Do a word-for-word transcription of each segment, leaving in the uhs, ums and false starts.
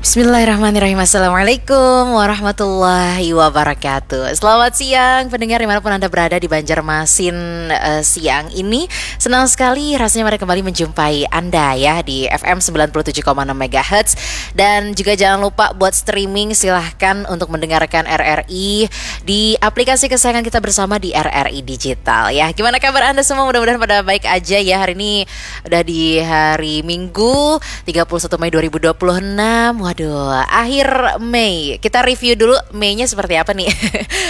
Bismillahirrahmanirrahim. Assalamualaikum warahmatullahi wabarakatuh. Selamat siang pendengar dimanapun Anda berada di Banjarmasin eh, siang ini. Senang sekali rasanya pada kembali menjumpai Anda ya di F M sembilan puluh tujuh koma enam megahertz. Dan juga jangan lupa buat streaming, silahkan untuk mendengarkan R R I di aplikasi kesayangan kita bersama di R R I Digital ya. Gimana kabar Anda semua? Mudah-mudahan pada baik aja ya. Hari ini udah di hari Minggu, tiga puluh satu Mei dua ribu dua puluh enam. Waduh, akhir Mei. Kita review dulu Mei-nya seperti apa nih.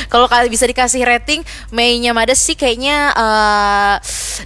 Kalau ka- bisa dikasih rating, Mei-nya mada sih kayaknya eh,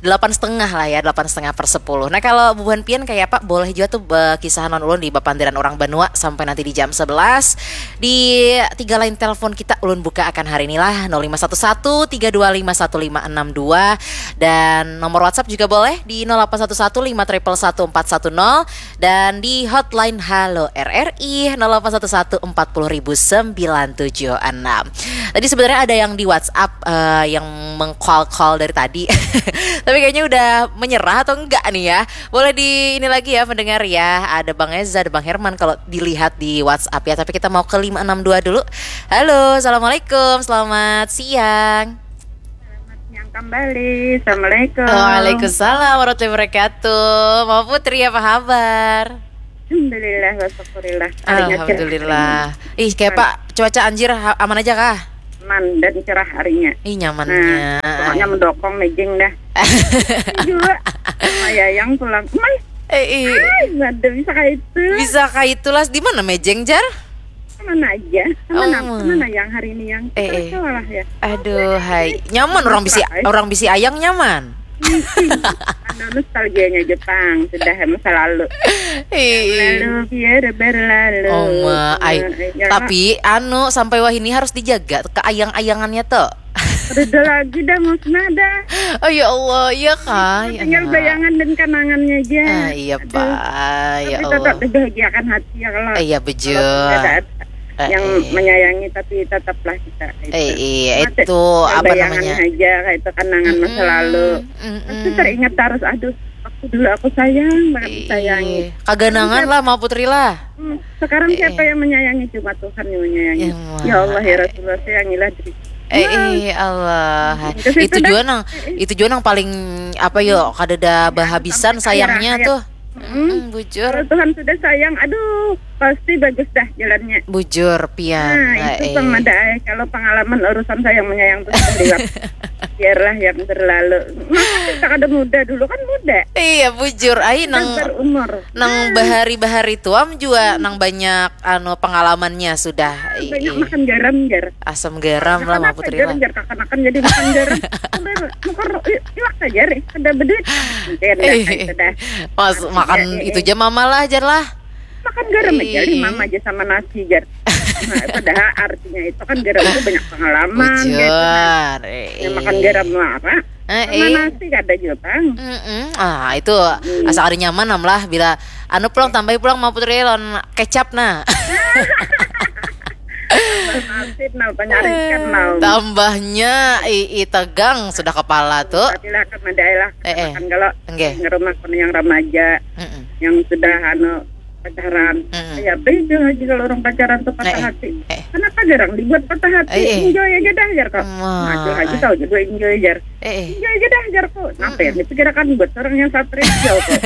delapan setengah lah ya, delapan setengah per sepuluh. Nah, kalau bubuhan pian kayak apa? Boleh juga tuh eh, kisah non ulun di bapandiran orang banua sampai nanti di jam sebelas. Di tiga line telepon kita ulun buka akan hari ini lah, nol lima satu satu tiga dua lima satu lima enam dua, dan nomor WhatsApp juga boleh di nol delapan satu satu lima triple satu empat satu nol, dan di hotline Halo R R I nol delapan satu satu empat puluh ribu sembilan tujuh enam. Tadi sebenarnya ada yang di WhatsApp eh, yang meng-call-call dari tadi. Tapi kayaknya udah menyerah atau enggak nih ya. Boleh di ini lagi ya pendengar ya. Ada Bang Eza, ada Bang Herman kalau dilihat di WhatsApp ya. Tapi kita mau ke lima enam dua dulu. Halo, assalamualaikum. Selamat siang. Yang kembali, Assalamualaikum. Waalaikumsalam warahmatullahi wabarakatuh. Mau Putri, apa kabar? Alhamdulillah, wa syukurillah. Harinya cerah. Alhamdulillah. Ih, kayak Pak, cuaca anjir ha- aman aja kah? Aman dan cerah harinya. Ih, nyamannya. Nah, pokoknya mendokong mejeng dah. Juga. Sama Yayang pulang. Mai, Eh, ih. Ai, ada bisa kayak itu. Bisa kayak itulah. Di mana mejeng, Jar? Mana aja? Sama Oh, nang- ma. Mana yang hari ini yang Eh, eh. Terasa lah ya. Aduh, hai. Nyaman orang bisi Mesra, eh. Orang bisi ayang nyaman. Anu, nostalgianya Jepang sudah masa lalu. Ih. Lalu biar berlalu. Oh, ma, ai. Eh, ya, Tapi anu, sampai wahini harus dijaga keayang-ayangannya tuh. Reda lagi dah musnah dah. Oh ya Allah, iya kah? Ya Tinggal Allah. Bayangan dan kenangannya aja. Ah, iya, Aduh. Pak. Ya Tapi tetap Allah. Dibahagiakan hati ya kalau Eh, iya, bejul. Walaupun tidak ada Eh, yang eh. Menyayangi, tapi tetaplah kita itu. Eh, iya, Mati. itu apa Bayangan namanya? Aja kayak itu kenangan masa Mm-mm, lalu. mm-mm. Pasti teringat terus, aduh, waktu dulu aku sayang banget disayangi. Iya. Kaganangan lah, mau Putri lah. Hmm, sekarang Eh, siapa eh. Yang menyayangi? Cuma Tuhan yang menyayangi. Ya, Ya Allah, ya Muhammad. Rasulullah, sayangilah diriku. Eh, eh, Allah. Ke situ Itu dah. Juga nang, itu juga nang paling apa yo, kada ada bahabisan Sampai sayangnya akhir tuh. hayat. Mm, bujur. Kalau Tuhan sudah sayang, aduh, pasti bagus dah jalannya. Bujur, pian. Nah, Nah, itu eh. Bang Mada, eh. Kalau pengalaman urusan sayang menyayang tuh sudah lewat. Biarlah yang berlalu. Masa kita kada muda, dulu kan muda. Iya, bujur. Ai Sudah nang berumur. nang bahari-bahari tuam juga nang banyak anu pengalamannya sudah. Ih, Banyak ih. Makan garam, jar. Asam garam lah, Makan mau apa Putri garam, lah. Jar? Kakanakan jadi makan garam. Udah, mukar i- iwak saja, Ri. Kada beduit. Jar, dah, Eh, itu dah. Mas, makan Eh, eh, itu aja mama lah, Jar lah. Makan garam aja, Ih. Ri, mama aja sama nasi, Jar. Nah, padahal artinya itu kan garam itu banyak pengalaman, gitu. Bujur. Eh, Ya, makan eh. Garam muara. Eh, Sama eh. Nasi kada jua, Bang. Mm-mm. Ah, itu asa kada nyaman nam lah bila anu pulang, tambahi pulang, mau Putri, lawan kecap nah. Nasib nau, panyarikan nau. Tambahnya i, i tegang sudah kepala tuh. Tapi lah, kan ada lah. Eh, eh. Kan kalau Nggih. Ngerumah kono yang remaja, Mm-mm. yang sudah anu pacaran. Mm-mm. Ya beda lagi kalau orang pacaran tuh patah Eh, eh. Hati. Eh. Kenapa jarang dibuat patah hati? Eh, eh. Enjoy aja dah, jar kok. Wah, Maju lagi eh. Tahu juga enjoy, jar. Eh, eh. Enjoy aja dah, jar kok. Apa yang Mm-mm. dipikirkan buat orang yang stres, jar kok?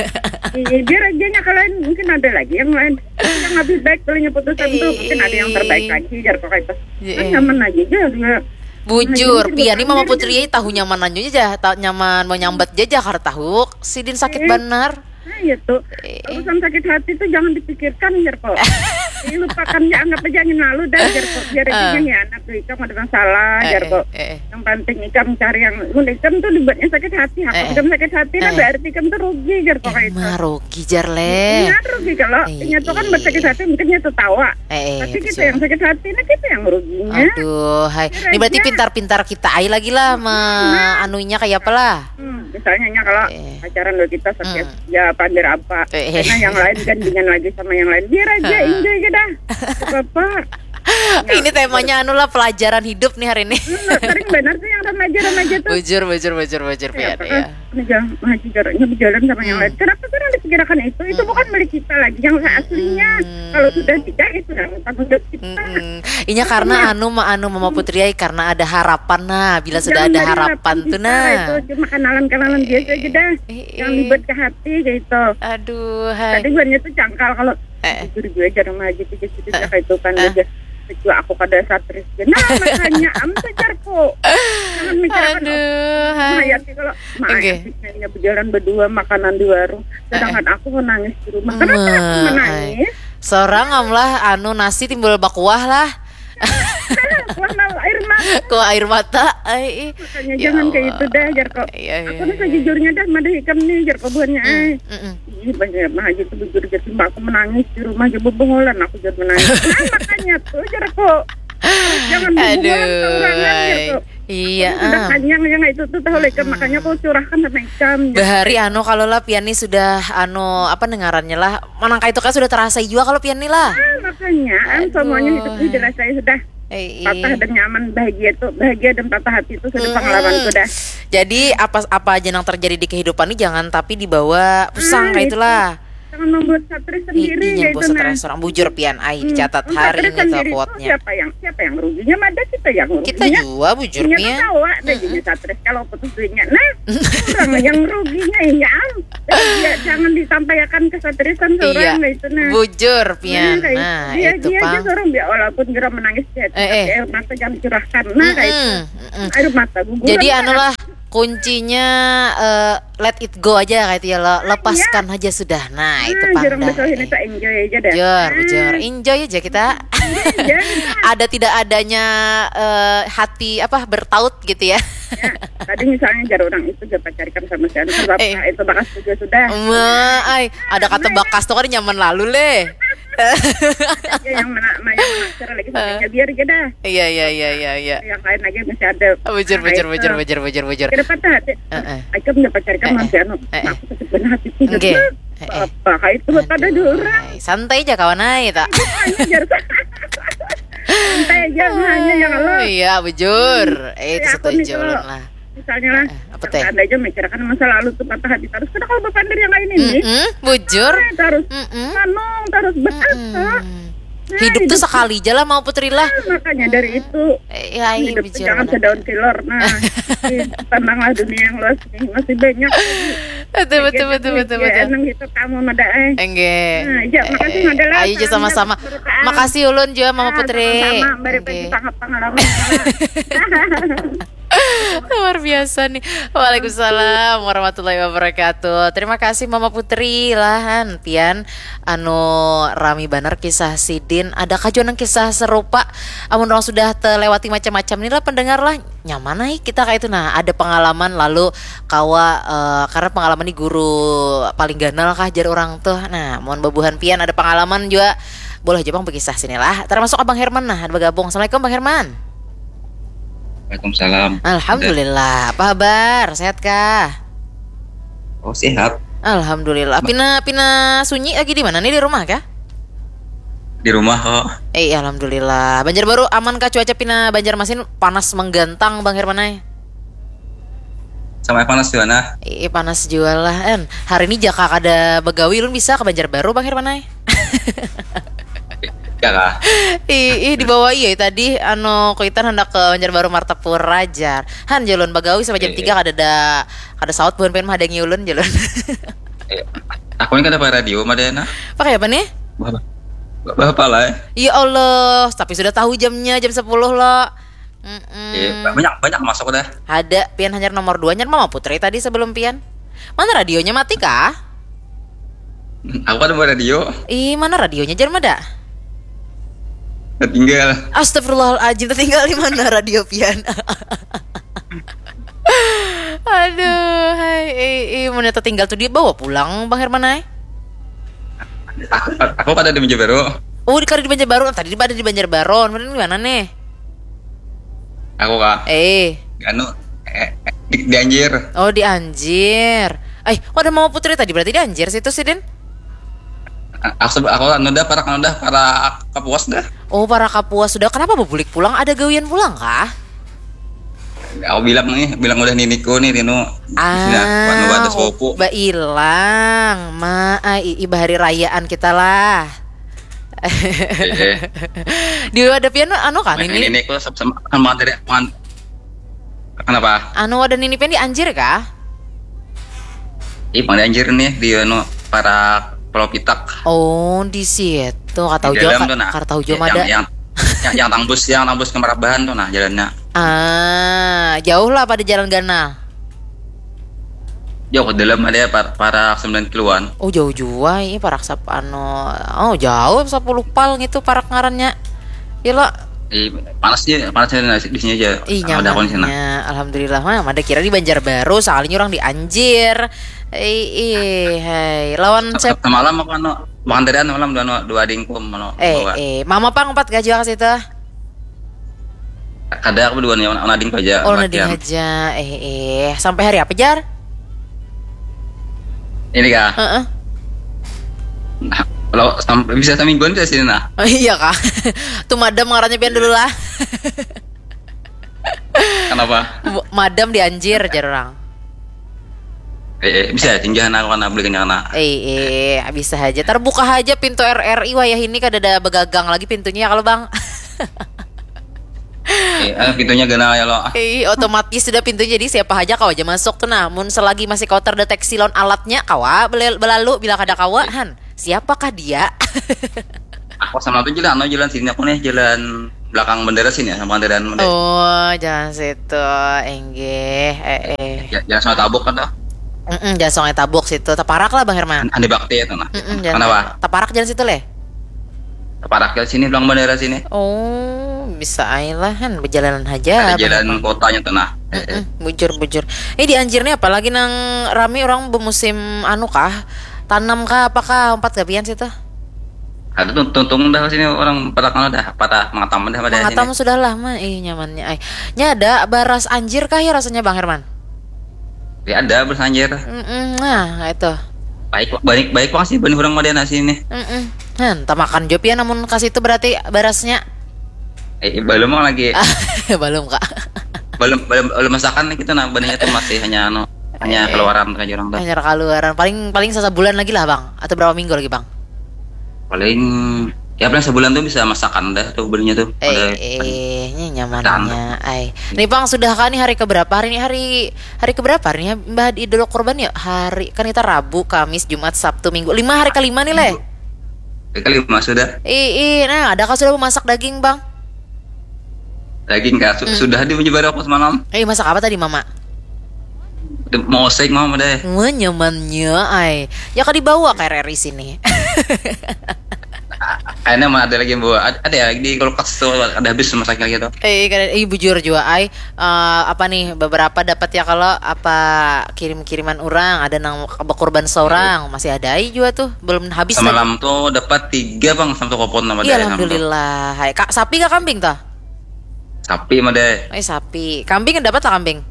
Iya, biar aja nya kalian mungkin ada lagi yang lain yang lebih baik kalau putusan tuh, mungkin ada yang terbaik Eh. Lagi, jar kok kayak itu. Iya. Kan nyaman aja, jar. Bujur, Nah, pian ni jadi mama kan Putri ai tahu nyaman aja, tahu nyaman mau nyambat aja, kada tahu sidin sakit Eh. Benar. Nah, iya tuh. Eh. Urusan sakit hati tuh jangan dipikirkan, jar kok. Dilupakan ya, anggap aja angin lalu dah, jar kok. Biar aja Ah. ngianat tuh, ikam ada masalah, Eh, jar kok. eh, eh. Yang penting ikam cari yang, mun ikam tuh dibuatnya sakit hati, aku Eh, eh. ikam sakit hati, nah Eh, eh. Berarti ikam tuh rugi, jar kok kayak itu. Emang rugi, jar leh. Ingat rugi kalau Iya, inya tuh kan iya. Buat sakit hati, mungkin nya tertawa. Eh, eh, Tapi kita betul. Yang sakit hati, nah kita yang ruginya. Aduh, hai. Kira Ini berarti aja. Pintar-pintar kita ai lagi lah, ma Nah. Anunya kayak apa lah. Hmm, misalnya nya kalau Eh. Pacaran dulu kita sakit, Hmm. Ya pandir apa? Eh, eh. Karena yang lain gandengan lagi sama yang lain. Biar aja, Hah. Enjoy aja dah. Apa-apa. Ini temanya anu lah, pelajaran hidup nih hari ini. Hmm, sering benar sih yang remaja-remaja tuh. Bujur, bujur, bujur, bujur, Pian. Apakah ya, ini jangan menghaji jaraknya berjalan sama yang lain. Kenapa sih yang dipikirkan itu? Itu bukan milik kita lagi yang aslinya. Kalau sudah nikah, itu sudah tanggung jawab kita. Inya karena anu, ma-, anu, Mama Putri ai, karena ada harapan. Nah, bila sudah ada harapan tuh, nah, itu cuma kenalan-kenalan biasa aja dah. Yang dibuat ke hati kayak itu. Aduh, hai. Tadi buannya tuh cangkal kalau jujur juga jarang lagi tuh, jadi kayak itu kan aja. Kecuali aku kada satris. Nah, makanya am sajarku. Jangan mikirkan. Aduh, hai. Hayati kalau maayah bisanya berjalan berdua makanan di warung. Sedangkan aku menangis di rumah. Kenapa aku menangis? Seorang am lah, anu, nasi timbul bakuah lah. Kuah air mata. Kuah air mata. Ai, ih. Makanya ya jangan kayak itu dah, jarko. Iya, iya, aku nih sejujurnya dah madah ikam nih, jarko buhannya. Ih, banyak mah aja tuh bujur aja tuh, aku menangis di rumah aja bebungulan aku jadi menangis. Nah, makanya tuh, jarko. Jangan bebungulan seorangan, jarko. Iya, udah kanyang ya nggak itu tuh tahu lagi, makanya aku curahkan sama ikam. Bahari anu, kalau lah pian nih sudah anu, apa ngarannya lah, manangka itu kan sudah terasa juga kalau pian nih lah. Ah, makanya, semuanya hidup ini dirasai sudah. Patah dan nyaman, bahagia tuh, bahagia dan patah hati itu sudah pengalaman sudah. Jadi apa, apa aja yang terjadi di kehidupan ini jangan tapi dibawa pusang kayak itulah. Jangan membuat satris sendiri. Jangan buat satris seorang, bujur pian ai, dicatat hari ini tuh quote-nya. Siapa yang, siapa yang ruginya? Mada kita yang ruginya. Kita juga, bujur pian. Tawa deh jadi satris kalau putus duitnya. Nah, orang yang ruginya ya. Jangan disampaikan kesatrisan seorang itu nah. Bujur pian. Nah, itu pang. Dia aja seorang biar walaupun geram menangis dia, tapi air mata jangan curahkan. Nah, kayak itu. Air mata guguran. Jadi anulah kuncinya, eh, let it go aja kayak itu ya, lo lepaskan aja sudah. Nah, itu pang dah. Ini tak enjoy aja dah. Jor, bujur, enjoy aja kita. Ada tidak adanya, eh, hati apa bertaut gitu ya. Ya, tadi misalnya jar orang itu dapat carikan sama si anu, bapak itu bakas juga sudah. Ma, ai, ada kata bakas tuh kan nyaman lalu leh. Ya, yang mana, yang mana cara lagi sama biar aja dah. Iya, iya, iya, iya, iya. Yang lain lagi masih ada. Bujur, bujur, bujur, bujur, bujur, bujur. Kenapa tuh hati? Heeh. Aku mendapat carikan sama si anu. Aku sakit banget hati. Oke. Apa kayak itu pada orang. Santai aja kawan ai tak. Santai aja hanya yang lo. Iya, bujur. Eh, itu setuju lah. Misalnya lah, apa teh? Anda aja mikirkan masa lalu tuh patah hati terus. Karena kalau bapak yang lain ini, bujur, terus manung, terus betapa. Hidup tuh sekali aja lah, mau Putri lah. Makanya dari itu, ya, hidup tuh jangan sedaun kelor. Nah, tentanglah dunia yang luas ini masih banyak. Betul, betul, betul, betul, betul. Enang gitu kamu mada eh. Enggak. Nah, iya, makasih mada lah. Ayo, sama-sama. Makasih ulun juga, Mama Putri. Sama-sama, bari pengalaman. Luar biasa nih. Waalaikumsalam warahmatullahi wabarakatuh. Terima kasih Mama Putri lah, han, pian anu rami banar kisah sidin. Adakah jua nang kisah serupa? Amun orang sudah terlewati macam-macam ni lah pendengar lah. Nyaman ai kita kayak itu. Nah, ada pengalaman lalu kawa, eh, karena pengalaman ni guru paling ganal kah jar orang tuh. Nah, mohon bebuhan pian ada pengalaman juga boleh aja pang berkisah sini lah. Termasuk Abang Herman nah ada bergabung. Assalamualaikum Bang Herman. Waalaikumsalam. Alhamdulillah. Apa kabar? Sehat kah? Oh, sehat. Alhamdulillah. Pina, pina sunyi lagi di mana nih, di rumah kah? Di rumah kok. Eh, alhamdulillah. Banjarbaru aman kah cuaca pina Banjarmasin panas menggantang Bang Herman ai? Sama panas juga nah. Ih, panas juga lah. En, hari ini jaka kada begawi ulun bisa ke Banjarbaru Bang Herman ai. Ya kah? Ih, ih, dibawa iya tadi anu kuitan hendak ke Banjarbaru Martapura jar. Han jalun bagawi sampai jam tiga kada ada, kada saut buhan pengen menghadangi ulun jalun. Iya. Aku ini kada pakai radio madena. Pakai apa nih? Bapak lah. Ya Allah, tapi sudah tahu jamnya jam sepuluh lo. Mm-mm. Iya, banyak, banyak masuk dah. Ada pian hanyar nomor dua, hanyar Mama Putri tadi sebelum pian. Mana radionya mati kah? Aku ada buat radio. Ih, mana radionya jar mada? Tertinggal. Astagfirullahaladzim, tertinggal di mana radio pian? Aduh, hai, eh, eh, mana tertinggal tuh dia bawa pulang Bang Herman ai? Aku, aku pada di Banjarbaru. Oh, di, di Banjarbaru. Tadi ada di Banjarbaru. Mana di mana nih? Aku kah? Eh. Anu, eh, eh, di, di Anjir. Oh, di Anjir. Eh, kok ada Mama Putri tadi? Berarti di Anjir situ sih, Din? Aku, aku anu dah, parak anu dah, parak Kapuas dah. Oh, parak Kapuas sudah. Kenapa bebulik pulang? Ada gawian pulang kah? Aku bilang nih, bilang udah niniku nih, Rino. Di sini, ah, anu, ada sepupu. Bailang. Ma, ah, ii, bahari rayaan kita lah. Eh, eh. Di wadah pian anu kah, nini? Niniku sama, sama dari, kenapa? Anu, wadah nini pian di Anjir kah? Ih, pang di Anjir nih, di anu, parak Pulau Pitak. Oh, di situ. Kada tahu jua, kada tahu jua mada. Yang, yang, yang tangbus, yang tangbus ke Marabahan tuh nah jalannya. Ah, jauh lah pada jalan ganal. Jauh ke dalam ada par, parak sembilan kiloan. Oh, jauh jua ini parak sap anu. Oh, jauh sepuluh pal gitu parak ngarannya. Gila. Ih, panasnya, panasnya di sini aja. Ih, nyamannya. Alhamdulillah mah, mada kira di Banjarbaru, soalnya orang di Anjir. Ih, ih, hai. Lawan sep- semalam aku anu, makan tadi anu malam dua, dua adingku, anu, eh, bawa. Eh, mama pang empat gaji ka situ. Kada, aku berdua nih, anu adingku aja. Oh, nading aja. Eh, eh. Sampai hari apa, Jar? Ini kah? Heeh. Nah, kalau sampai bisa semingguan bisa sini nah. Oh, iya kah? Tuh madam ngarannya pian dulu lah. Kenapa? Madam di Anjir, jar orang. Eh, eh, bisa ya, tinjahan aku karena beli kenyang nak. Eh, eh, bisa aja. Terbuka aja pintu R R I wayah ini, kada ada begagang lagi pintunya ya kalau bang. Eh, eh, pintunya ganal ya lo. Eh, otomatis sudah pintunya, jadi siapa aja kau aja masuk tuh nah. Mun selagi masih kau terdeteksi lawan alatnya, kawa belalu bila kada kawa han. Siapakah dia? Aku sama tuh jalan, no, jalan sini aku nih, jalan belakang bendera sini ya, sama kendaraan bendera. Oh, jalan situ, enggih, eh, eh. Ya, jalan sama tabuk kan tuh. Mm-mm, jalan Sungai Tabuk situ, teparak lah Bang Herman. Andi Bakti itu nah. Mm-mm, jalan kenapa? Teparak jalan situ leh. Teparak jalan sini, belakang bendera sini. Oh, bisa aja lah kan, berjalan aja. Ada jalan kotanya tuh nah. Mm-mm, bujur, bujur. Ini di Anjir nih apalagi nang rame orang bermusim anu kah? Tanam kah, apakah empat gabian situ? Ada tuh tuntung dah sini orang pada kalau dah pada mengatam dah pada. Mengatam sini. Sudah lah mah, ih nyamannya ay. Nya ada baras Anjir kah ya rasanya Bang Herman? Ya ada baras Anjir. Mm-mm, nah itu. Baik baik baik pang sih bani orang Madana sini. Mm-mm. Han, tamakan jop ya namun kasih itu berarti barasnya. Eh, belum lagi. Belum kak. Belum belum belum masakan nih kita nah benihnya tuh masih hanya anu hanya eh, keluaran aja orang tuh. Hanya keluaran paling paling sebulan lagi lah bang atau berapa minggu lagi bang? Paling ya paling sebulan tuh bisa masakan dah tuh belinya tuh. Eh, eh ini nyamannya. Ay. Nih bang sudah kah nih hari keberapa hari ini hari hari keberapa hari ini mbah di dulu korban ya hari kan kita Rabu, Kamis, Jumat, Sabtu, Minggu lima hari kelima nih leh. Hari kelima sudah. Ih, ih, nah ada kah sudah memasak daging bang? Daging kah? Su- hmm. Sudah di menyebar aku semalam. Eh masak apa tadi mama? Mau oseng mama deh. Wah nyamannya ay. Ya kah dibawa ke R R I sini. Kayaknya mah ada lagi yang bawa. Ada, ada ya di kulkas tuh ada habis masaknya gitu. Eh, eh bujur juga ay. Uh, apa nih beberapa dapat ya kalau apa kirim-kiriman orang ada nang berkorban seorang hmm. Masih ada ay juga tuh belum habis. Semalam tuh dapat tiga bang satu kopon nama iya, alhamdulillah. Hai kak sapi kak kambing tuh? Sapi mah deh. Eh sapi. Kambing dapat lah kambing.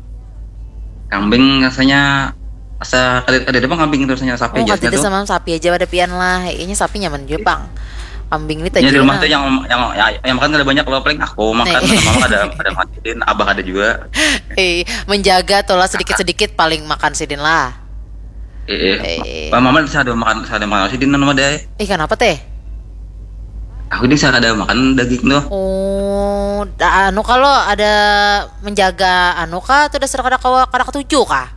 Kambing rasanya asa kada kada apa kambing itu rasanya sapi oh, aja. Tidak tuh. Sama sapi aja pada pian lah. Ini sapi nyaman juga bang. Kambing ini tadi. Di rumah tuh yang yang ya, yang makan ada banyak loh paling aku makan sama ada ada makan sidin abah ada juga. Eh menjaga tuh lah sedikit sedikit paling makan sidin lah. Eh, eh. Mama ada makan ada makan sidin nama deh. Eh kenapa teh? Aku ini saya kada makan daging tuh. Oh, anu kalau ada menjaga anu kah atau dasar kada kawa kada ketuju kah?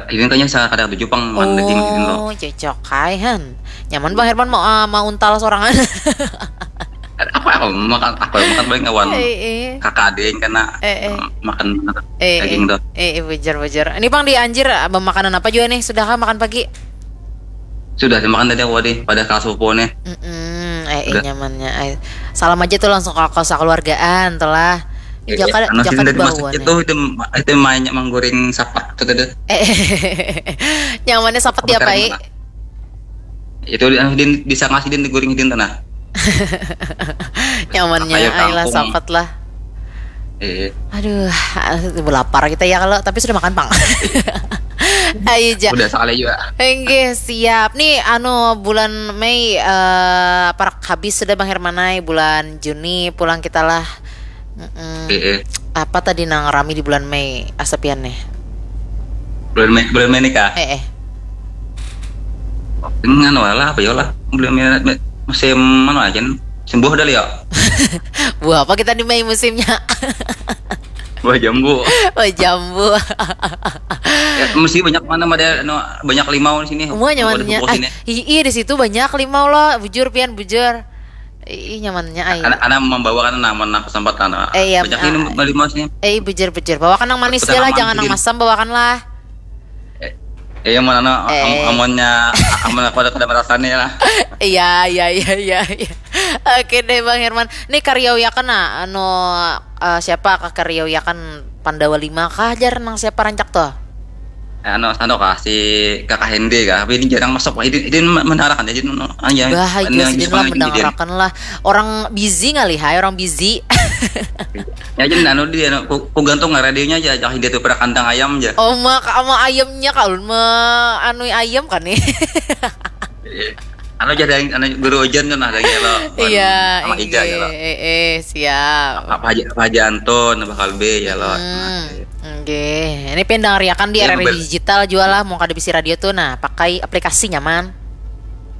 Ini kayaknya saya kada ketuju pang makan daging gitu loh. Oh, cocok kai han. Nyaman Bang Herman mau uh, mau untal sorangan. Apa aku makan aku makan paling kawan eh, eh. Kakak ada yang kena eh, eh. Makan eh, daging eh, tuh. Eh, eh, bujar bujar. Ini Bang di Anjir makanan apa juga nih? Sudahkah makan pagi? Sudah dimakan tadi aku tadi pada kelas pupu nih. Mm-mm, eh, eh nyamannya. Eh. Salam aja tuh langsung ke keluargaan telah. Eh, jaka, eh, jaka di bawah itu itu mainnya menggoring sapat tuh tadi. Eh, nyamannya sapat ya Pak. Itu di, di, bisa ngasih din digoreng din tanah. Nyamannya ayolah sapat lah. Iya. Aduh, lapar kita ya kalau tapi sudah makan pang. Ayo ja. Udah salah juga. Enggih, siap. Nih anu bulan Mei eh parak habis sudah Bang Hermanai, bulan Juni pulang kita lah. Mm-mm. Eh, eh. Apa tadi nang rami di bulan Mei asapian nih? Bulan Mei, bulan Mei nikah. Eh eh. Dengan wala apa ya lah. Bulan Mei, Mei- musim mana aja nih? Sembuh dah ya. Buah apa kita di Mei musimnya? Buah jambu. Oh jambu. Ya, mesti banyak mana ada anu, banyak limau di sini. Semua Ada nyamannya. buku Ah, sini. Iya di situ banyak limau loh, bujur pian bujur. Ih nyamannya ai. Anak, anak membawakan namun kesempatan. Eh, iya, Banyak ah. ini limau sini. Eh bujur bujur, bawakan nang manis Betul, aja lah, aman, jangan nang Din. Masam bawakan lah. Eh, iya mana anu, Eh. am- amonnya am- amonnya aku ada kada merasani lah. Iya iya iya iya. Iya. Oke deh Bang Herman. Nih kariauyakan nah anu eh, siapa kah kariauyakan Pandawa lima kah jar nang siapa rancak tuh? Anu, anu kah si kakak Hende kah? Tapi ini jarang masuk. Ini, ini menarakan jadi anu, ah, ya, Bah, ini iya lagi sidin suka lah ini, mendangarakan lah. Orang busy ngalih hai, orang busy. Ya jadi anu dia anu, ku, ku gantung radionya aja, jangan dia tuh pada kandang ayam aja. Oh mak ama ayamnya kalau ma anu ayam kan nih. Anu jadi anu guru ujian tuh nah lagi lo. Iya, Sama Ija ya lo. Eh, eh, siap. Apa aja apa aja Anton bakal B ya lo. Hmm, oke. Ini pian dangariakan di Iya, R R I ber- digital juga lah, mau kada bisi radio tuh, nah pakai aplikasi nyaman.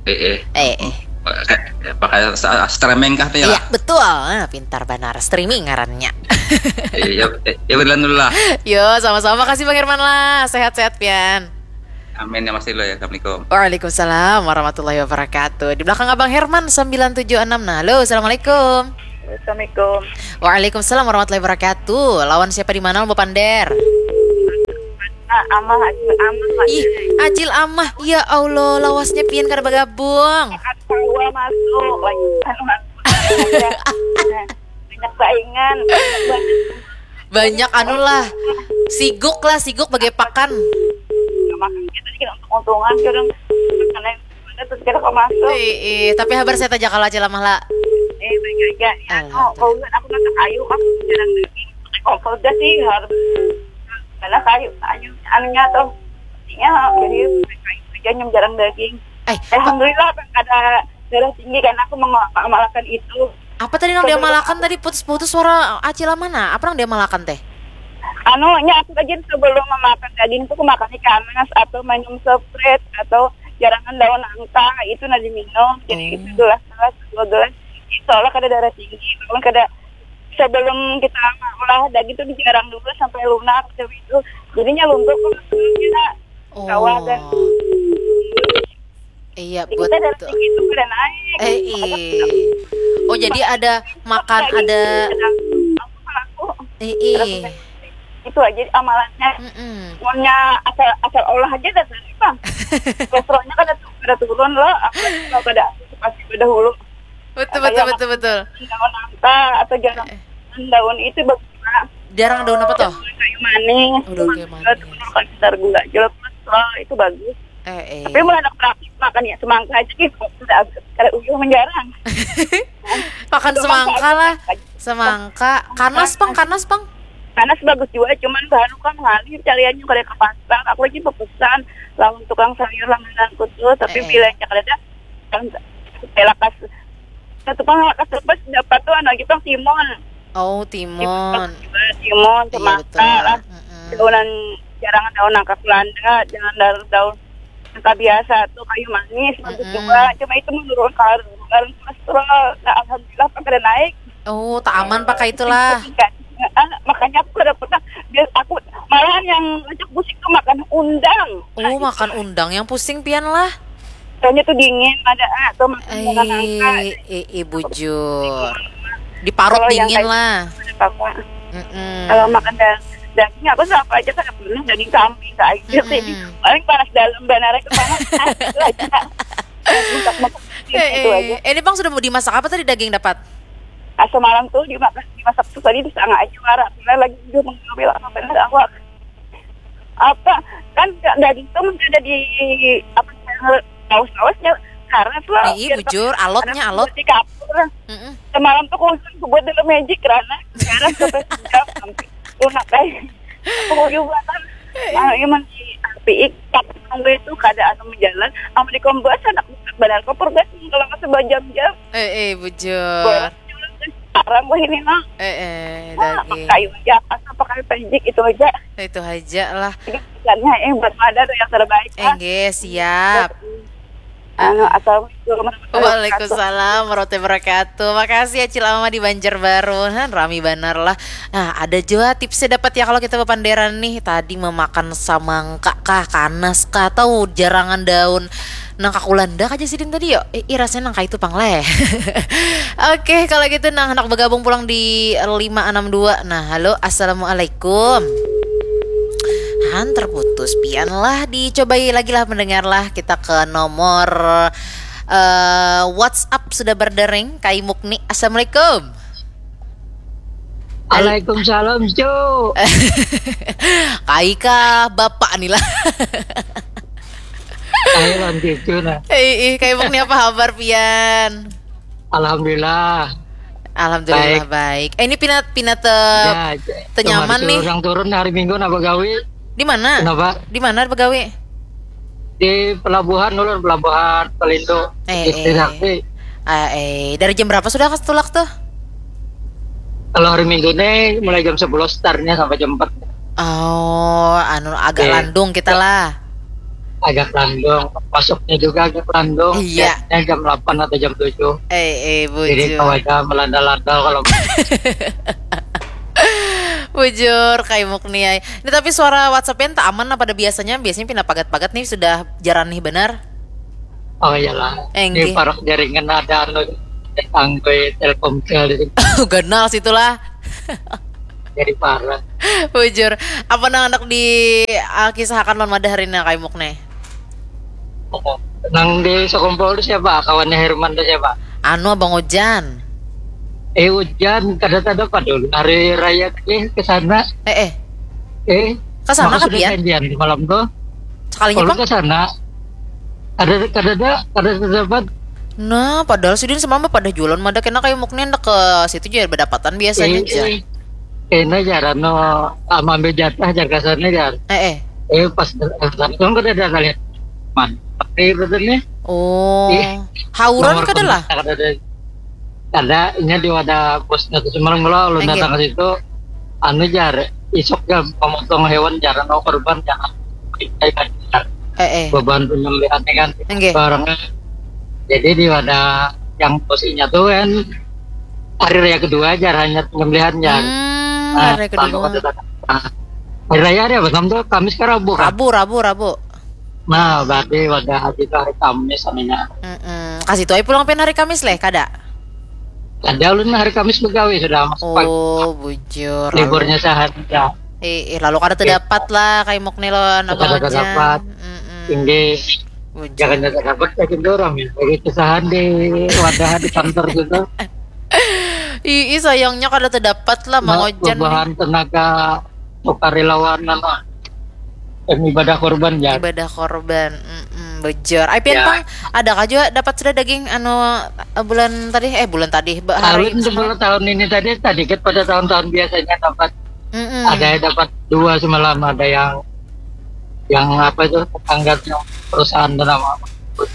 Eh eh. Eh, eh. Pakai pakai sa- streaming kah tuh ya? Iya betul, ah, pintar banar streaming ngarannya. Iya, ya, ya berlan dulu lah. Yo sama-sama, makasih Bang Herman lah, sehat-sehat pian. Amin ya Mas Ilo ya. Assalamualaikum. Waalaikumsalam warahmatullahi wabarakatuh. Di belakang Abang Herman sembilan tujuh enam. Nah, halo, assalamualaikum. Assalamualaikum. Waalaikumsalam warahmatullahi wabarakatuh. Lawan siapa di mana lo Pander? Ah, amah aja, amah aja. Ih, Acil Amah. Ya Allah, lawasnya pian kada bergabung. Tawa masuk lagi. Anu, anu, banyak saingan. Banyak anu lah. Siguk lah, siguk bagai pakan. Makan kita dikit untung-untungan kadang. Karena mana tuh kira kok masuk. Eh, eh, tapi habar sehat aja kalau Acil Amah lah. Eh, baik aja. Ya, Alhamdulillah. oh, kau lihat aku masak kayu, aku jarang daging. Pakai kompor dah sih, harus. Karena kayu, kayu, anunya tuh. Ya, jadi pakai kayu aja yang jarang daging. Eh, Alhamdulillah, ada darah tinggi karena aku mengamalkan itu. Apa tadi nang diamalakan tadi putus-putus suara Acil Amah nah? Apa nang diamalakan teh? Anu, nya aku aja sebelum memakan daging tuh aku makan ikan mas atau minum Sprite atau jarangan daun nangka itu nah diminum. Jadi Oh. itu gelas gelas dua gelas. Soalnya kada darah tinggi, kalau kada sebelum kita olah daging tuh dijarang dulu sampai lunak macam itu. Jadinya luntur kok maksudnya. Oh. Kawah kan. Iya, Jadi kita darah betul. tinggi itu kada naik. Eh, iya. Oh, jadi ada makan Daging ada kadang aku pelaku. eh, eh. Itu aja amalannya. Mm-mm. Pokoknya asal asal olah aja dah tadi bang. Kolesterolnya kada tu- kada turun loh. Apa kalau kada antisipasi dahulu. Betul betul betul betul. Daun nangka atau jarang daun itu bagus lah. Jarang daun apa toh? Kayu manis. Oh, daun kayu manis. Itu menurunkan kadar gula. Jual kolesterol itu bagus. Eh, eh. Tapi mulai anak praktis makan ya semangka aja gitu. Sudah kada uyuh menjarang. Makan semangka lah. Semangka. Kanas pang, kanas pang. Kanas bagus juga, cuman bahan kan mengalir cariannya kada ke pasar. Aku lagi pepesan lawan tukang sayur langgananku tuh, tapi Eh, eh. bilanya kada ada. Kan pelakas satu pang lakas lepas dapat tuh anu lagi pang timun. Oh, timun. Juga timun, Iya semangka betul. lah. Mm-mm. Daunan jarang daun nangka Belanda, jangan daun daun nangka biasa tuh kayu manis bagus Mm-mm. juga. Cuma itu menurun kar karena kolesterol. Nah, alhamdulillah kan kada naik. Oh, tak aman pakai itulah. Ah, makanya aku kada pernah. Dia, aku malahan yang ngajak musik tuh makan undang. Oh, makan undang yang pusing pian lah. Soalnya tuh dingin, ada ah, atau makan Eh, bunga nangka. eh, eh, bujur. Diparut Kalau yang dingin kayak lah. Apa? Mm-mm. Kalau makan da- daging aku sama aja kada pernah daging kambing aja sih. Mm-mm. Paling panas dalam benar itu panas. Itu aja. Masak-masak Eh, itu aja. eh. Ini bang sudah mau dimasak apa tadi daging dapat? Ah, semalam tuh dimasak dimasak tuh tadi di setengah aja marah. Karena lagi dia mengambil apa benar aku apa kan daging tuh masih ada di apa laus-lausnya karena tuh Ih, bujur, alotnya alot. Di kapur. Mm-mm. Semalam tuh aku buat dulu magic karena sekarang sampai sejam sampai lunak aja. Aku juga kan. Nah, emang di piik, tapi nunggu itu kada anu menjalan, amun di kompor anak banar kompor gas kalau masih berjam-jam. Eh, eh, bujur. Boros sekarang wah ini mah. Eh, eh, Ah, lagi. Pakai aja, asal pakai pejik itu aja. Itu aja lah. Jadi pesannya eh buat mada tuh yang terbaik lah. Enggak, siap. Anu, assalamualaikum warahmatullahi wabarakatuh. Waalaikumsalam warahmatullahi wabarakatuh. Makasih ya Cil Ama di Banjarbaru. Han, rami banar lah. Nah, ada juga tipsnya dapat ya kalau kita bepanderan nih. Tadi memakan samangka kah, kanas kah, atau jarangan daun nang kakulanda aja sidin tadi yo. Eh, ih, rasanya nang itu pang leh. Oke, kalau gitu nah anak bergabung pulang di lima enam dua. Nah, halo, assalamualaikum. Han, terputus pian lah, dicobai lagi lah mendengar lah. Kita ke nomor eh, WhatsApp sudah berdering. Kai Mukni, assalamualaikum. Waalaikumsalam, Cu. Kai kah bapak nih lah. Saya lanjut, Cu, nah. Eh, eh, Kai Mukni, apa kabar pian? Alhamdulillah. Alhamdulillah baik. Eh, ini pinat pinat eh, Ya, tenyaman cuma nih. Orang turun hari Minggu nak begawi. Di mana? Kenapa? Di mana begawi? Di pelabuhan, ulun pelabuhan Pelindo. Eh, Istri eh. Sakti. Ah, eh, dari jam berapa sudah kas tulak tuh? Kalau hari Minggu nih mulai jam sebelas startnya sampai jam empat. Oh, anu agak Eh. landung kita lah. Agak landung, masuknya juga agak landung. Iya. Biasanya jam delapan atau jam tujuh. Eh, eh, Jadi bujur. kalau ada melanda-landa kalau Bujur, Kai Mukni ai. Ini tapi suara WhatsApp-nya tak aman lah pada biasanya. Biasanya pindah pagat-pagat nih sudah jarang nih benar. Oh iyalah. Eh, Di nggih. Parak jaringan ada anu tanggoi Telkomsel di sini. Ganal situlah. Jadi parah. Bujur. Apa nang anak di ah, kisahkan lawan mada hari ini Kai Mukni? Nang di Sokompol itu siapa? Kawannya Herman itu siapa? Anu Abang Ojan. Eh hujan, kada ada pada hari raya ke ke sana. Eh, eh. Eh, Ke sana maka kah, sudah pian? Janjian di malam tuh. Sekalinya Kalau pang. Ke sana, ada kada ada kada terdapat. Nah, padahal sidin semalam pada jualan mada kena Kai Mukni hendak ke situ juga berdapatan biasanya Eh, aja. eh. Kena jaran no, ah, ambil jatah jaga sana jar. Eh, eh. Eh pas datang kan kada ada lihat. Man, tapi betul nih. Oh, Ih, hauran nomor kada lah? Kontak kada ada. Kada, inya di wadah bosnya tuh semalam kalau ulun Enggak. datang ke situ, anu jar, isuk jar pemotong hewan jar, no korban jar. Eh, eh. Beban penyembelihan kan Enggak. Barangnya. Jadi di wadah yang bosnya tuh kan hari raya kedua jar hanya penyembelihan jar. Hmm, Ah, hari kalau kedua. kata-kata. Nah, hari raya hari apa? Sabtu, Kamis ke Rabu kan? Rabu, Rabu, Rabu. Nah, berarti wadah haji itu hari Kamis namanya. Mm-mm. Kasih tuai pulang pian hari Kamis leh, kada? Ada ulun hari Kamis begawe sudah masuk pagi. Oh, bujur. Lalu, Liburnya sehari ya. eh, eh, lalu kada terdapat lah Kai Mukni lawan Abang Kada Ojan. terdapat. Mm-mm. Tinggi Bujur. jangan jangan dapat lagi orang ya. Bagi kesahan di wadah di kantor gitu. Ih, ih, sayangnya kada terdapat lah Mang Nah, Ojan nih. Perubahan tenaga sukarelawan nama yang ibadah korban ya. Ibadah korban. Mm-mm, bujur. Ai pian Ya. Pang, ada kah juga dapat sudah daging anu eh, bulan tadi eh bulan tadi ba- hari Alun sebelah tahun ini tadi tadi kan pada tahun-tahun biasanya dapat Mm-mm. ada yang dapat dua semalam ada yang yang apa itu tetangga yang perusahaan dan nama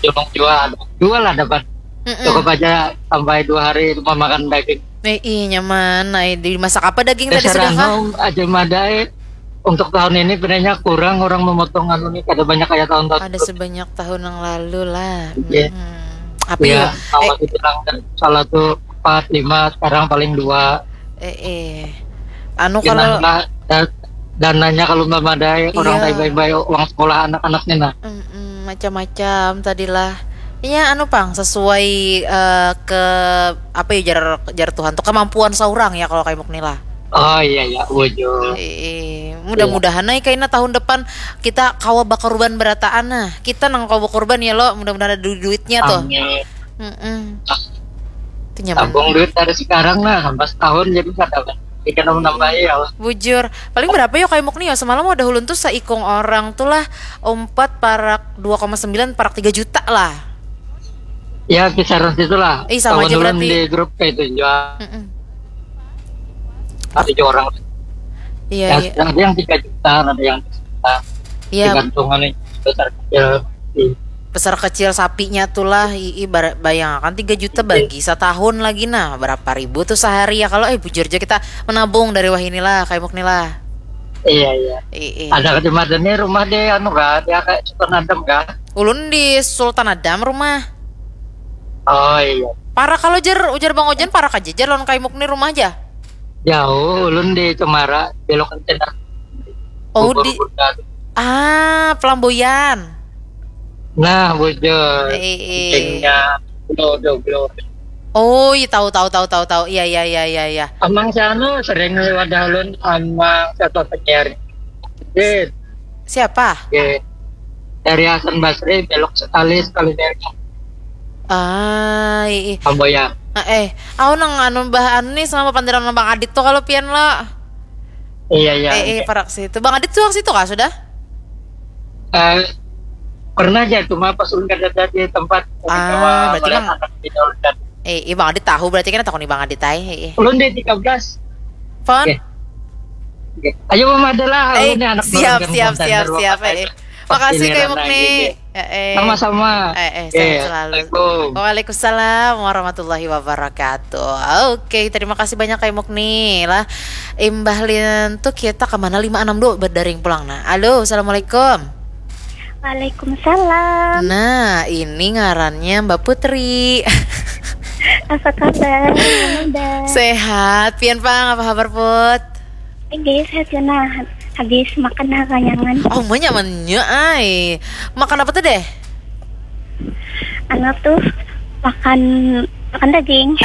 julung jua ada dua lah dapat Mm-mm. cukup aja sampai dua hari lupa makan daging. Eh, ih, nyaman. Ai, dimasak apa daging tadi Dasar sudah kah? Anu aja madai untuk tahun ini penanya kurang orang memotong anu nih kada banyak kayak tahun-tahun Ada sebelumnya. Sebanyak tahun yang lalu lah. Iya. Mm-mm. Apa Iya, ya? awal itu bilang kan salah tuh empat lima sekarang paling dua. Eh, eh. Anu kalau Kenapa da- dananya kalau memadai orang Iya. Taibai-bai uang sekolah anak-anaknya nah. Mm-mm, macam-macam tadilah. Iya anu Pang sesuai eh, ke apa ya jar jar Tuhan tuh kemampuan seorang ya kalau Kai Mukni lah. Oh iya ya, wujud. Eh, mudah-mudahan ai kaina tahun depan kita kawa bakorban berataan nah. Kita nang kawa bakorban ya lo, mudah-mudahan ada du- duitnya tuh. Amin. Mm-mm. Itu nyaman. Tabung duit dari sekarang lah sampai setahun jadi kada ikan menambahi ya. Bujur. Paling berapa yo Kai Mukni yo? Semalam ada ulun tuh seikung orang tuh lah empat parak dua koma sembilan parak tiga juta lah. Ya kisaran situ lah. Ih, sama Kawan aja ulun berarti. Di grup kayak itu jual Mm-mm. ada juga orang. Iya, Ya, iya. Ada yang tiga juta, ada yang juta. Ya, Tergantung anu, besar kecil. Hmm. Besar kecil sapinya tuh lah, ii, bar- bayangkan tiga juta bagi setahun lagi, nah berapa ribu tuh sehari ya? Kalau eh bujur aja kita menabung dari wah inilah, kaimuk nih lah. Iya, iya. Ii. Ada kecamatan nih rumah deh, anu kah, dia kayak Sultan Adam kah? Ulun di Sultan Adam rumah. Oh iya. Para kalau jer ujar Bang Ojan, para aja jer lawan kaimuk nih rumah aja. Jauh, ulun di Cemara, belokan cina. Oh, Bogor di Bundar. Ah, Pelamboyan. Nah, bujur. Eh, eh. Kencingnya, blo, blo, blo. Oh, iya, tahu, tahu, tahu, tahu, tahu. Iya, iya, iya, iya, iya. Amang sana sering lewat daun, amang satu penyiar. Gitu. Siapa? Oke. Dari Hasan Basri, belok sekali, sekali dari Ah, ii. Kamboya. Nah, eh, aku nang anu bah anu nih sama pandiran Bang Adit tuh kalau pian lo. Iya, iya. Eh, eh, parak situ. Bang Adit tuh situ kah sudah? Eh, pernah aja, cuma pas ulun kada ada di tempat. Ah, Kawa berarti melihat Bang- anak di daun dan Eh, iya Bang Adit tahu berarti kan, takuni Bang Adit ai. Eh, eh. ulun di tiga belas. Fon? Oke. Oke. Ayo, Mama, ada lah. Eh, Ulun ni anak siap, baru siap, kan, siap, baru siap. makan. Eh, eh. Pas Makasih giliran kayak lagi, nih. deh. Eh, eh. Sama-sama. Eh, eh, Oke, sehat selalu. Assalamualaikum. Waalaikumsalam warahmatullahi wabarakatuh. Oke, terima kasih banyak kayak Mukni lah. Imbah lian tuh kita kemana lima enam dua berdaring pulang nah. Halo, assalamualaikum. Waalaikumsalam. Nah, ini ngarannya Mbak Putri. Apa kabar? Halo, Mbak. Sehat, pian pang apa kabar Put? Oke, sehat ya nah. Habis makan nah kanyangan. Oh, nyamannya ai. Makan apa tuh deh? Anu tuh makan makan daging.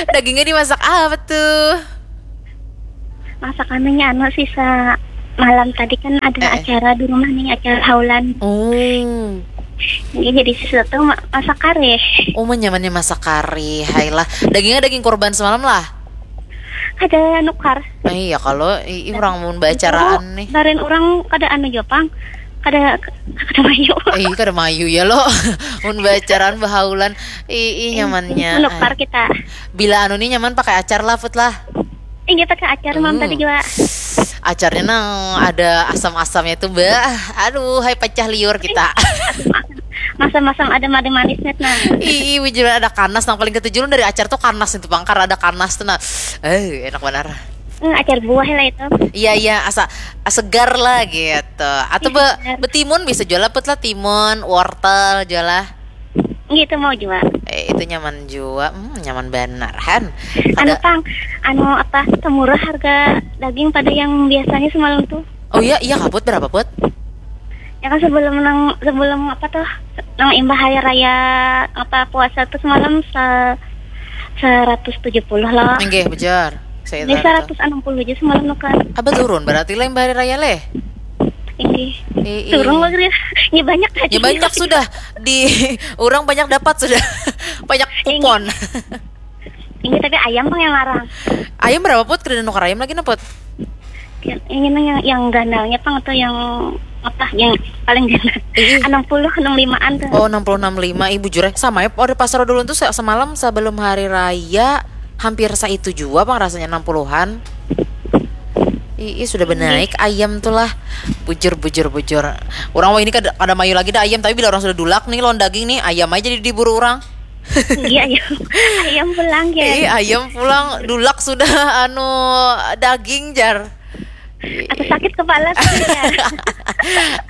Dagingnya dimasak apa tuh? Masak anunya anu sisa malam tadi kan ada Eh, eh. Acara di rumah nih, acara haulan. Oh. Ini jadi sesuatu ma- masak kare. Oh, nyamannya masak kari. Hai lah. Dagingnya daging kurban semalam lah. Ada nukar. Eh, iya kalau i, i, orang mun bacaraan nih. Karen orang kada anu jopang. Kada kada mayu. Eh, kada mayu ya lo. Mun bacaraan bahaulan. I, i nyamannya. Nukar Ai. Kita. Bila anu nih nyaman pakai acar lah Put lah. Ini pakai acar malam Hmm. Tadi juga. Acarnya nang ada asam-asamnya tuh, Mbak. Aduh, hai pecah liur kita. Masam-masam ada madu manis net nah. Ih, bujur ada kanas nang paling ketujuh dari acar tuh kanas itu pangkar ada kanas tuh nah. Eh, enak benar. Hmm, acar buah lah itu. Iya iya asa segar lah gitu. Atau be, betimun bisa jual lah Put lah timun, wortel jual lah. Gitu mau juga. Eh, itu nyaman juga, hmm, nyaman benar han. Anu Ada pang, anu apa semurah harga daging pada yang biasanya semalam tuh. Oh iya iya kaput berapa Put? Ya kan sebelum nang sebelum apa tuh nang imbah hari raya apa puasa tuh semalam se seratus tujuh puluh loh. Enggak bejar. Saya Ini tahu tuh. Seratus enam puluh aja semalam tuh kan. Apa turun berarti lah imbah hari raya leh? Tinggi. Ih, Turun ih. Lagi ya. Ya banyak tadi. Ya banyak sudah di orang banyak dapat sudah banyak kupon. Ini tapi ayam pang yang larang. Ayam berapa Put? Kena nukar ayam lagi nah Put. Yang ini yang yang ganalnya pang atau yang apa yang paling ganal. Ih, ih. Enam puluh enam limaan tuh. Oh enam puluh enam lima ibu jure sama ya pada pasar dulu tuh se- semalam sebelum hari raya hampir saitu jua pang rasanya enam puluhan. Ih, ih, sudah benaik ayam tuh lah. Bujur bujur bujur. Orang wah ini kada, kada mayu lagi dah ayam tapi bila orang sudah dulak nih lawan daging nih ayam aja di- diburu orang. Iya ayam. Ayam pulang ya. Ih, ayam pulang dulak sudah anu daging jar. Atau sakit kepala tuh ya.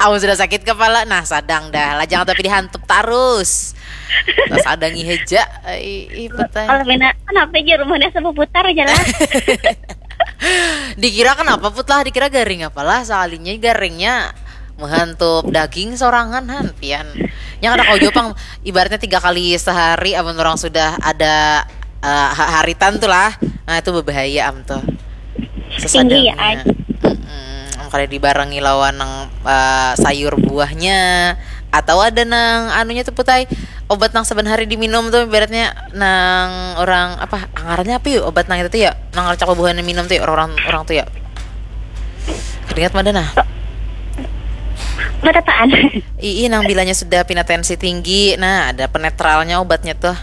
Amun sudah sakit kepala, nah sadang dah. Lajang tapi dihantup tarus. Terus ada ngiheja. Ih, ih, betul. Kalau bina kenapa aja rumahnya sama putar aja lah. Dikira kenapa Put lah? Dikira garing apalah? Soalnya garingnya menghantup daging sorangan han pian. Yang ada kau jopang ibaratnya tiga kali sehari amun orang sudah ada eh, ha- haritan tuh lah. Nah, itu berbahaya am tuh. Tinggi ya, Sesadangnya. Mm-mm. Kada dibarengi lawan nang eh, sayur buahnya atau ada nang anunya tuh Put ai obat nang saban hari diminum tuh ibaratnya nang orang apa ngarannya apa yuk obat nang itu tuh ya nang rancak bubuhan minum tuh ya orang orang tuh ya keringat mana nah Buat apaan? ii nang bilanya sudah pina tensi tinggi nah ada penetralnya obatnya tuh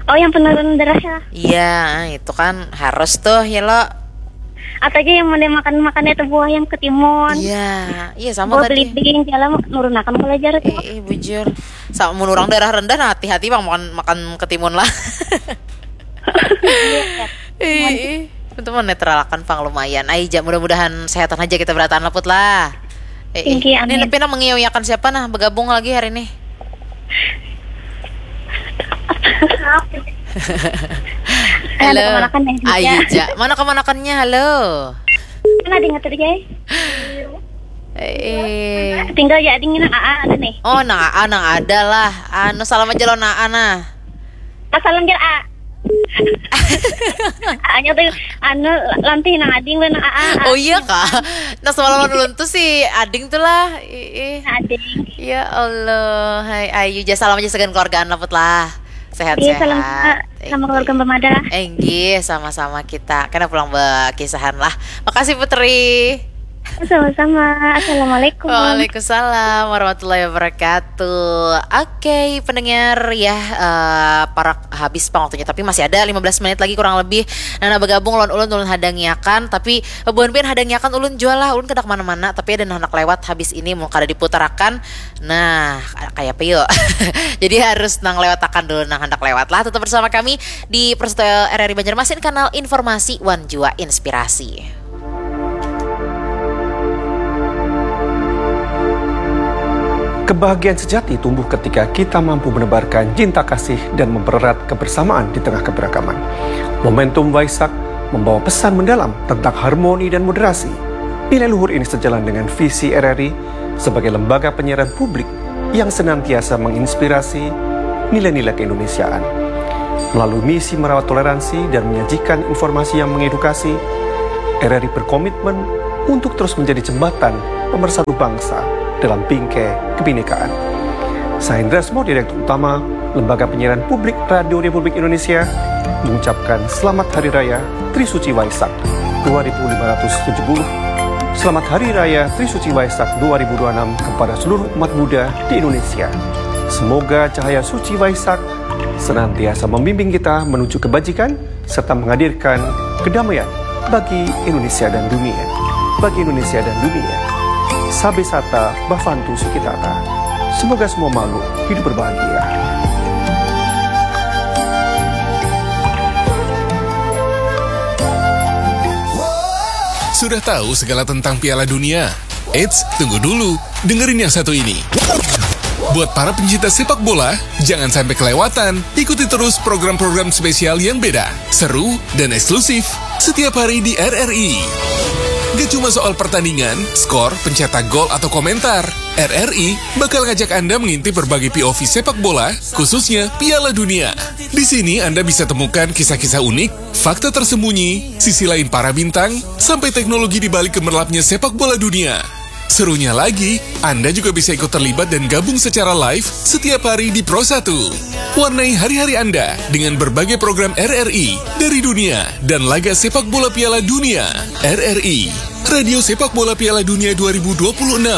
Oh yang penurun darah ya. Iya itu kan harus tuh ya lo Atau aja yang mau makan, makannya tuh buah yang ketimun. Iya, iya sama buah tadi. Belibing, jalan nurunakan belajar tuh. Eh, eh, bujur. Sama mun orang darah rendah, nah, hati-hati bang makan, makan ketimun lah. Iya, iya. Ih, itu menetralakan pang lumayan. Ai ja, mudah-mudahan sehatan aja kita berataan leput lah. Eh, eh. Tinggi, amin. Ini pina mengiyakan siapa nah bergabung lagi hari ini? Halo. Halo. Kemanakan ya? Ayo ja. Mana kemanakannya? Halo. Mana dengar tadi guys? Eh. Tinggal ya dingin Aa ada nih. Oh, nang Aa nang ada lah. Anu salam aja lo nah Aa nah. Salam jar A. Aanya tuh anu lantih nang ading lah nang A. Oh iya kah? Nah semalam ulun tuh si ading tuh lah. Ih. Ading. Ya Allah, hai ayu ja salam aja segan keluargaan laput lah. Sehat-sehat. Iya, salam sama keluarga Mbak Mada lah. Enggih, sama-sama kita. Kena pulang bekisahan lah. Makasih Putri. Sama-sama. Assalamualaikum. Waalaikumsalam warahmatullahi wabarakatuh. Oke, pendengar ya, uh, parak habis pang waktunya, tapi masih ada lima belas menit lagi kurang lebih. Nah, nah bergabung ulun ulun ulun hadangiakan, tapi buhan pian hadangiakan ulun jua lah, ulun kada kemana-mana, tapi ada nah handak lewat habis ini mau kada diputarakan. Nah, kayak apa yuk? Jadi harus nang lewatakan dulu nang handak lewat lah. Tetap bersama kami di Persatuan R R I Banjarmasin, kanal informasi wan jua inspirasi. Kebahagiaan sejati tumbuh ketika kita mampu menebarkan cinta kasih dan mempererat kebersamaan di tengah keberagaman. Momentum Waisak membawa pesan mendalam tentang harmoni dan moderasi. Nilai luhur ini sejalan dengan visi R R I sebagai lembaga penyiaran publik yang senantiasa menginspirasi nilai-nilai keindonesiaan. Melalui misi merawat toleransi dan menyajikan informasi yang mengedukasi, R R I berkomitmen untuk terus menjadi jembatan pemersatu bangsa dalam bingkai kebinekaan. Saya Hendra Smo, Direktur Utama Lembaga Penyiaran Publik Radio Republik Indonesia, mengucapkan Selamat Hari Raya Trisuci Waisak dua ribu lima ratus tujuh puluh. Selamat Hari Raya Trisuci Waisak dua ribu dua puluh enam kepada seluruh umat Buddha di Indonesia. Semoga cahaya suci Waisak senantiasa membimbing kita menuju kebajikan serta menghadirkan kedamaian bagi Indonesia dan dunia. Bagi Indonesia dan dunia. Sabe sata bafantu sukitata. Semoga semua makhluk hidup berbahagia. Sudah tahu segala tentang Piala Dunia? Eits, tunggu dulu. Dengerin yang satu ini. Buat para pencinta sepak bola, jangan sampai kelewatan. Ikuti terus program-program spesial yang beda, seru, dan eksklusif setiap hari di R R I. Gak cuma soal pertandingan, skor, pencetak gol, atau komentar. R R I bakal ngajak Anda mengintip berbagai P O V sepak bola, khususnya Piala Dunia. Di sini Anda bisa temukan kisah-kisah unik, fakta tersembunyi, sisi lain para bintang, sampai teknologi di balik gemerlapnya sepak bola dunia. Serunya lagi, Anda juga bisa ikut terlibat dan gabung secara live setiap hari di Pro satu. Warnai hari-hari Anda dengan berbagai program R R I dari dunia dan laga sepak bola Piala Dunia. R R I, Radio Sepak Bola Piala Dunia dua ribu dua puluh enam.